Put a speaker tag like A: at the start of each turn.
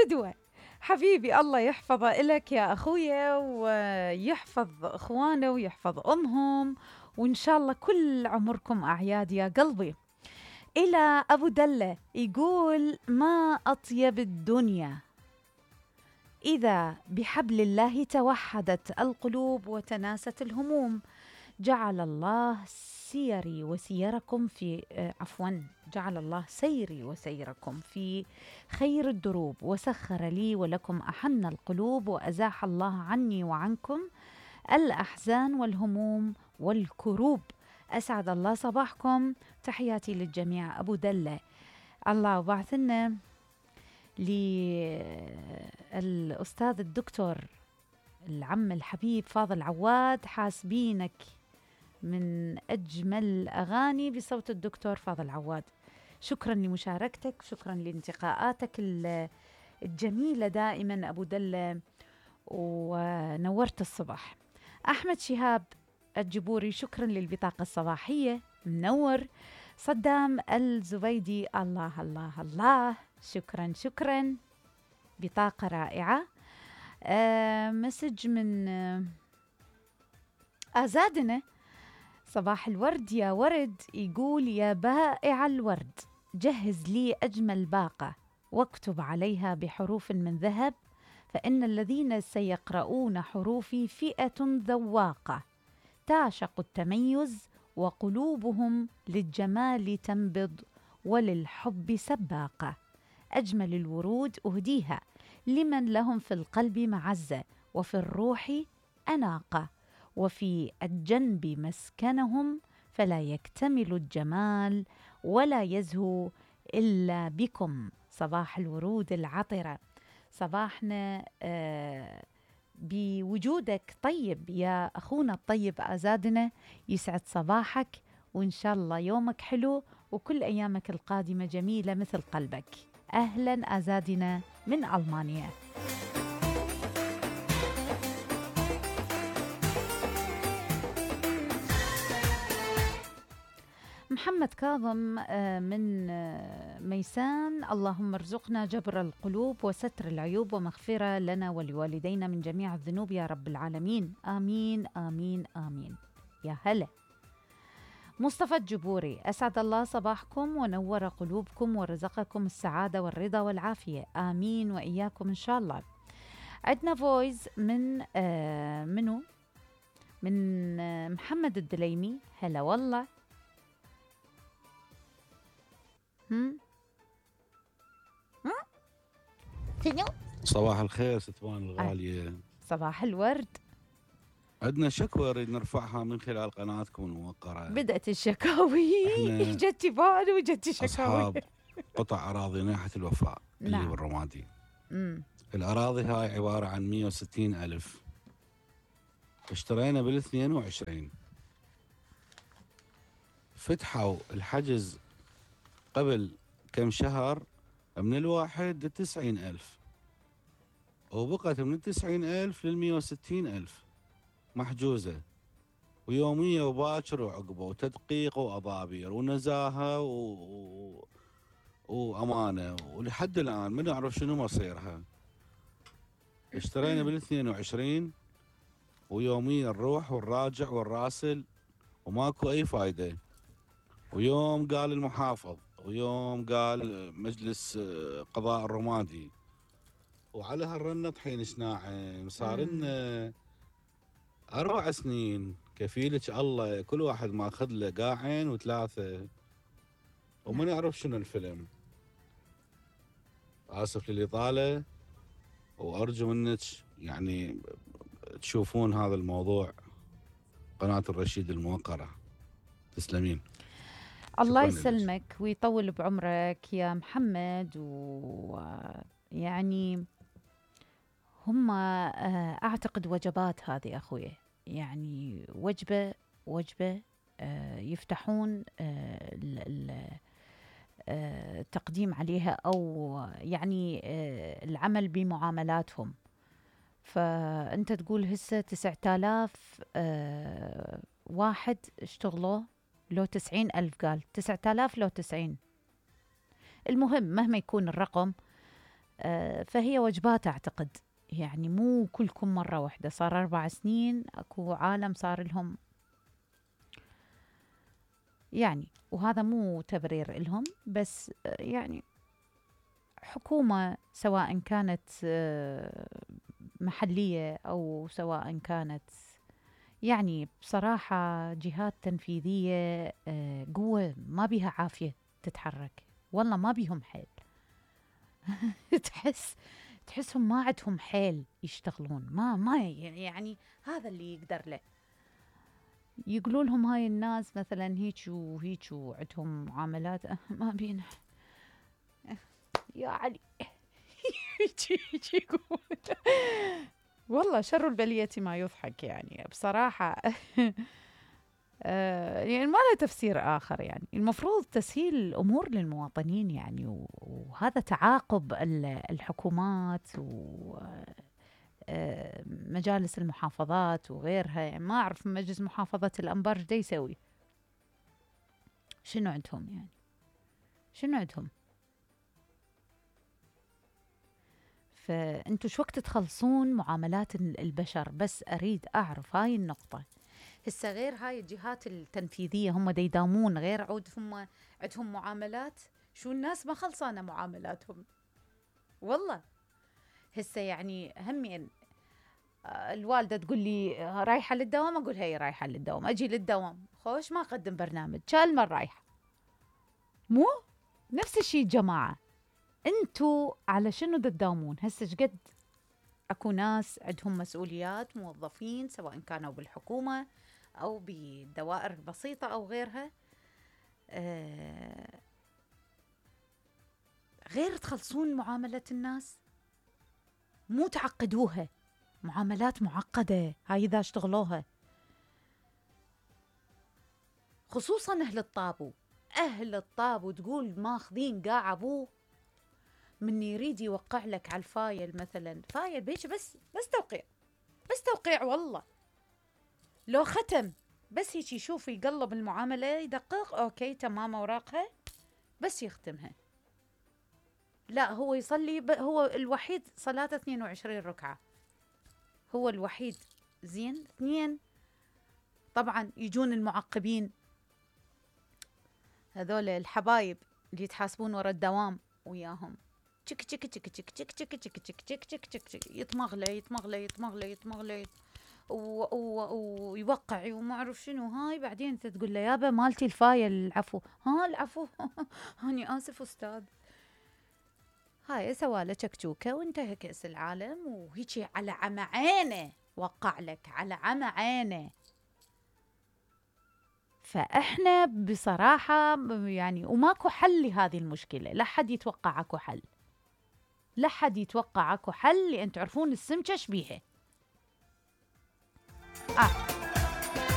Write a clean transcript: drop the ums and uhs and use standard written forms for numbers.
A: فدوة حبيبي، الله يحفظه إلك يا أخويا، ويحفظ إخوانه ويحفظ أمهم، وإن شاء الله كل عمركم أعياد يا قلبي. إلى أبو دلة يقول: ما أطيب الدنيا إذا بحبل الله توحدت القلوب وتناست الهموم. جعل الله سيري وسيركم في جعل الله سيري وسيركم في خير الدروب، وسخر لي ولكم أحن القلوب، وأزاح الله عني وعنكم الأحزان والهموم والكروب. أسعد الله صباحكم، تحياتي للجميع. أبو دلة، الله وبعث لنا للأستاذ الدكتور العم الحبيب فاضل عواد، حاسبينك من أجمل أغاني بصوت الدكتور فاضل عواد. شكرا لمشاركتك، شكرا لانتقاءاتك الجميلة دائما أبو دلة، ونورت الصباح. أحمد شهاب الجبوري، شكرا للبطاقة الصباحية، منور. صدام الزبيدي، الله الله الله، شكرا شكرا، بطاقة رائعة. مسج من آزادنا، صباح الورد يا ورد، يقول: يا بائع الورد، جهز لي أجمل باقة واكتب عليها بحروف من ذهب، فإن الذين سيقرؤون حروفي فئة ذواقة تعشق التميز، وقلوبهم للجمال تنبض وللحب سباقة. أجمل الورود أهديها لمن لهم في القلب معزة، وفي الروح أناقة، وفي الجنب مسكنهم، فلا يكتمل الجمال ولا يزهو إلا بكم. صباح الورود العطرة، صباحنا بوجودك طيب يا أخونا الطيب آزادنا، يسعد صباحك، وإن شاء الله يومك حلو وكل أيامك القادمة جميلة مثل قلبك. أهلا آزادنا من ألمانيا. محمد كاظم من ميسان، اللهم ارزقنا جبر القلوب وستر العيوب ومغفرة لنا ولوالدينا من جميع الذنوب يا رب العالمين، آمين آمين آمين. يا هلا. مصطفى الجبوري، أسعد الله صباحكم ونور قلوبكم ورزقكم السعادة والرضا والعافية، آمين وإياكم إن شاء الله. عندنا فويس من منو؟ من محمد الدليمي، هلا والله.
B: صباح الخير ستوان الغالية.
A: صباح الورد.
B: عندنا شكوى نريد نرفعها من خلال قناتكم الموقرة.
A: بدأت الشكاوي، جتي بال وجتي شكاوي.
B: أصحاب قطع أراضي ناحية الوفاء اللي بالرمادي. الأراضي هاي عبارة عن 160,000، اشترينا بال22، فتحوا الحجز قبل كم شهر من الواحد ل90,000، وبقت من 90,000 ل160,000 محجوزة، ويومية وباكر وعقبه وتدقيق وأضابير ونزاهة وأمانة، ولحد الآن ما نعرف شنو مصيرها. اشترينا بال22 ويوميا نروح ونراجع ونراسل وماكو أي فايدة، ويوم قال المحافظ ويوم قال مجلس قضاء الرمادي، وعلى هالرنة طحين شناعم. صار لنا 4 سنين كفيلك الله، كل واحد ماخذ له قاعين و3، وما نعرف شنو الفيلم. آسف للإطالة، وأرجو منك يعني تشوفون هذا الموضوع قناة الرشيد الموقرة. تسلمين.
A: الله يسلمك ويطول بعمرك يا محمد. ويعني هم أعتقد وجبات هذه أخوي، يعني وجبة يفتحون التقديم عليها، أو يعني العمل بمعاملاتهم. فأنت تقول هسه 9,000 واحد اشتغلوا، لو 90,000 قال 9,000 لو 90. المهم مهما يكون الرقم، فهي وجبات أعتقد، يعني مو كلكم مرة واحدة. صار 4 سنين أكو عالم صار لهم يعني، وهذا مو تبرير إلهم، بس يعني حكومة سواء كانت محلية أو سواء كانت يعني بصراحة جهات تنفيذية قوة ما بيها عافية تتحرك، والله ما بيهم حيل. تحسهم ما عندهم حيل يشتغلون، ما يعني هذا اللي يقدر له. يقولوا لهم هاي الناس مثلا هيك وهيك وعندهم معاملات، ما بينا يا علي. هيك يقول. والله شر البلية ما يضحك يعني بصراحة. يعني ما له تفسير آخر. يعني المفروض تسهيل الأمور للمواطنين يعني، وهذا تعاقب الحكومات ومجالس المحافظات وغيرها. يعني ما أعرف مجلس محافظة الأنبار دا يسوي، شنو عندهم يعني، شنو عندهم؟ فأنتوا شو وقت تخلصون معاملات البشر؟ بس أريد أعرف هاي النقطة. هسه غير هاي الجهات التنفيذية هم دا يداومون، غير عود هم عندهم معاملات. شو الناس ما خلصانة معاملاتهم والله. هسه يعني همين الوالدة تقول لي رايحة للدوام، أقول هي رايحة للدوام، أجي للدوام خوش ما أقدم برنامج، كالمر رايحة. مو نفس الشيء جماعة، انتوا على شنو تداومون؟ هسه شقد اكو ناس عندهم مسؤوليات، موظفين سواء كانوا بالحكومة او بالدوائر البسيطة او غيرها، غير تخلصون معاملة الناس، مو تعقدوها. معاملات معقدة هاي إذا اشتغلوها، خصوصا أهل الطابو تقول ماخذين قاع أبوه من يريد يوقع لك على الفايل مثلا، فايل بيش بس توقيع والله. لو ختم بس هيك يشوف يقلب المعاملة يدقق أوكي تمام أوراقها بس يختمها. لا هو يصلي هو الوحيد صلاته 22 ركعة، هو الوحيد. زين 2 طبعا يجون المعقبين هذول الحبايب اللي يتحاسبون ورا الدوام وياهم، تشك تشك تشك تشك تشك تشك تشك تشك تشك تشك تشك يتمغلي ويوقع وما اعرف شنو. هاي بعدين انت تقول له يابا مالتي الفايل العفو، العفو. هاني اسف استاذ. هاي سواله شكشوكه وانتهى كأس العالم وهيجي على عمى عينه وقع لك على عمى عينه. فاحنا بصراحه يعني وماكو حل لهذه المشكله، لا حد يتوقع اكو حل، لا حد يتوقع اكو حل، لان تعرفون السمكه شبيها.